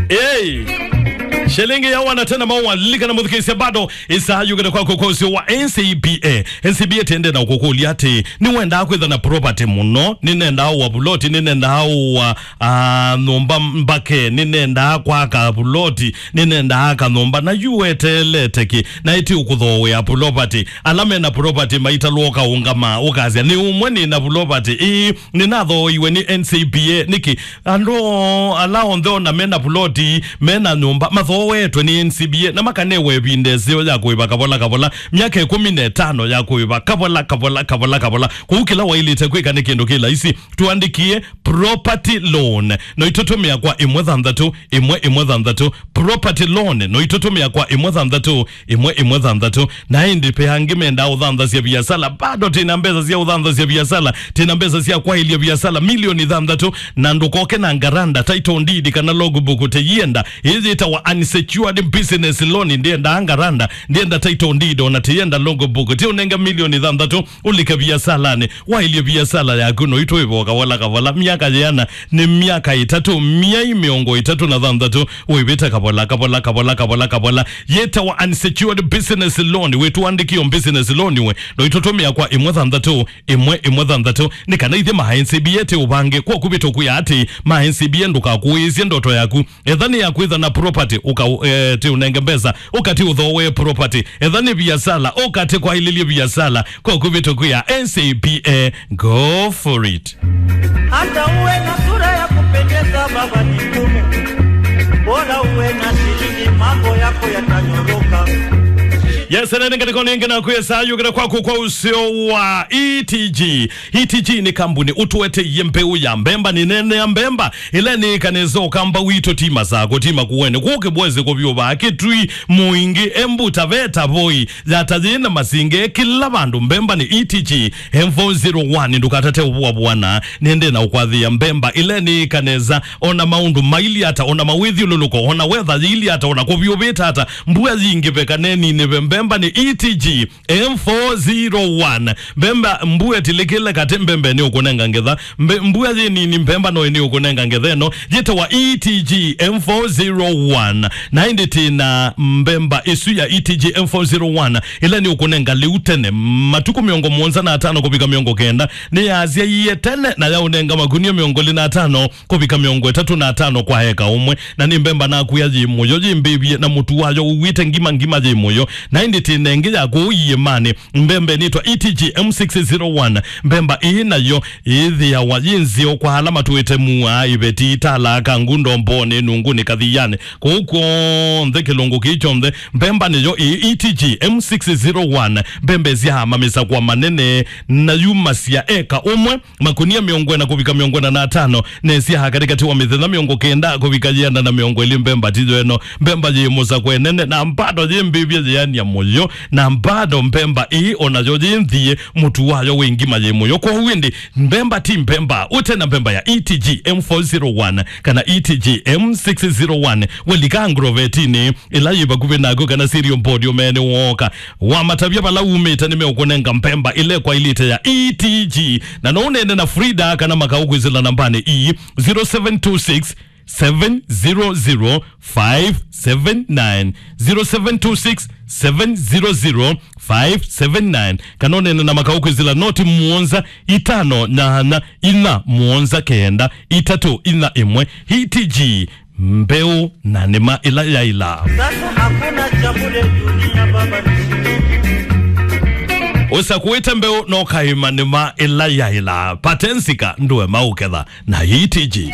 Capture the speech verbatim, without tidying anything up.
Hey! Shilingi ya wana tena maua, lilikana mũthikĩĩsya bado, ĩsaa yũkĩte kwaku kwa ũseo wa N C B A. N C B A tĩendee na ũkũkũlya atĩ, nĩwendaa kwĩtha na property mũno, nĩnendaa ũa vuloti, nĩnendaa ũa, ah, nyũmba mbake, nĩnendaa kwaka vuloti, nĩnendaa aka nyũmba, na yu weteelete kĩ, na ĩtĩ ũkũthooea property. Ala mena property maitalwa ũkaũngama, ũkasya, "Nĩ ũmwe nĩna property, ĩĩ, nĩnathooiwe nĩ N C B A." Nĩkĩ? Andũ ala onthe ona mena vuloti, mena nyũmba, mathoowetwe nĩ N C B A, na makanewa ĩvinda ĩseo ya kũĩva kavola kavola, myaka ĩkũmi na ĩtano ya kũĩva kavola kavola kavola kavola. Kũu kĩla waĩlĩte kwĩka nĩ kĩndũ kĩ laisi, tũandĩkĩe property loan. No itũtũmĩa kwa ĩmwe thanthatũ, ĩmwe ĩmwe thanthatũ, property loan. No itũtũmĩa kwa ĩmwe thanthatũ, ĩmwe ĩmwe thanthatũ. Na ĩndĩ ve angĩ mendaa ũthanthasya viasala, bado tĩna mbesa sya ũthanthasya viasala, tĩna mbesa sya kwaĩlya viasala milioni thanthatũ, na ndũkoke na ngaranda, title deed, kana logbook. Tĩyĩenda, ĩĩ yĩtawa unsecured business loan, ndĩendaa ngaranda, ndĩenda title deed, ona tĩyenda logbook. Tĩ ũnenge milioni thanthatũ, ũlike viasalanĩ, waĩlye viasala yaku, no itũĩva kavola kavola, myaka yĩana, nĩ myaka ĩtatũ, myei mĩongo ĩtatũ na thanthatũ, wĩvĩte kavola, kavola, kavola, kavola, kavola. Yĩtawa unsecured business loan, wĩtũandĩkĩo business loan we, no itũtũmĩa kwa ĩmwe thanthatũ, ĩmwe ĩmwe thanthatũ, nĩ kana ithyĩ ma N C B A tĩ ũvange, kwa kũvĩtũkwĩa atĩ ma N C B A ndũkakũĩĩsye ndoto yaku. Etha nĩ ya kwĩtha na property, ũka, eh, tĩ ũnenge mbesa, ũkatĩ ũthooe property. Etha nĩ viasala, ũkatĩ kwaĩlĩlye viasala, kwa kũvĩtũkwĩa N C B A, go for it. Hata uwe na sura ya kupendeza, baba, ni ngumu. Bora uwe na shilingi, mambo yako yatanyoroka. Yes, na nĩ ngatĩko nĩ ngenakwĩa saa yũkĩte kwaku kwa ũseo wa E T G. E T G nĩ kambuni ũtũetee mbeũ ya mbemba, nĩ nene ya mbemba, ĩla nĩ kanesa ũkamba witũ ti Masako, ti Makueni, kũkĩ bwezi kũvyũvaa Kĩtui, Mũingĩ, Embu, Taveta, Voi, Yata yĩ na Masinge, kĩla vandũ mbemba nĩ E T G M four zero one. Ndũkatate ũvũavũana, nĩendee na ũkwathĩa mbemba ĩla nĩ kanesa, ona maũndũ maili ata, ona mawĩthyũlũlũko, ona weather yĩili ata, ona kũvyũvĩte ata, mbua yingĩve kana ĩninĩve, mbemba nĩ E T G M four zero one. Mbemba, mbua ĩtilĩkĩle katĩ, mbemba nĩ ũkũnenga ngetha. Mbe-, mbua yĩ nini, mbemba no nĩ ũkũnenga ngetha ĩno. Yĩtawa E T G M four zero one. Na ĩndĩ tĩ na mbemba ĩsu ya E T G M four zero one, ĩla nĩ ũkũnenga lĩu tene, matukũ mĩongo mũonza na atano kũvika mĩongo kenda. Nĩ yasyaie tene na yaũnenga makunia mĩongo ĩlĩ na atano kũvika mĩongo ĩtatũ na atano kwa eka ũmwe, na nĩ mbemba nakwĩa yĩ mũyo, yĩ mbĩvye, na mũtu wayo ũw'ĩte ngima ngima, yĩ mũyo. Na ĩndĩ tĩ na ĩngĩ ya kũu iĩmanĩ, mbemba ĩnĩtwa E T G M six zero one. Mbemba ĩĩ nayo ĩthĩawa yĩ nzeo kwa ala matũĩte Mua, Iveti, Tala, Kangundo, Mboni, Nunguni, Kathiani, kũu kw'onthe kĩlungu kĩĩ kyonthe. Mbemba nĩyo ĩĩ E T G M six zero one. Mbemba ĩsyaamamĩsa kwa manene, na yumasya eka ũmwe makunia mĩongo ĩna kũvika mĩongo ĩna na atano, nesyaha katĩkatĩ wa mĩthenya mĩongo kenda kũvika yĩana na mĩongo ĩlĩ. Mbemba tiyo ĩno, mbemba yĩ mũsakwe nene, na mbado yĩ mbĩvye yĩania mũyo, na mbado mbemba ĩĩ onayo yĩ nthie, mũtu wayo wĩ ngima yĩ mũyo. Kwoou ĩndĩ, mbemba ti mbemba ũte na mbemba ya E T G M four zero one kana E T G M six zero one. Welika Agrovetinĩ ĩla yĩ vakuvĩ naku kana Cereal Board ũmeene wooka. Wamatavya vala umĩte, nĩmeũkũnenga mbemba ĩla ĩkwaĩlĩte ya E T G. Na no ũneene na Frida kana makaũ kwĩsĩla nambanĩ ii, zero seven two six, seven zero zero, five seven nine, zero seven two six, seven zero zero, five seven nine. Kana ũneene na makaũ kwĩsĩla noti mũonza, itano nyanya, inya mũonza kenda, itatũ inya ĩmwe. E T G, mbeũ na nĩma ĩla yaĩla. Sasa hakuna cha bure dunia, baba, ni shilingi. Ũsakũĩte mbeũ na ũkaĩma nĩma ĩla yaĩla. Patensika ndũema ũketha na E T G.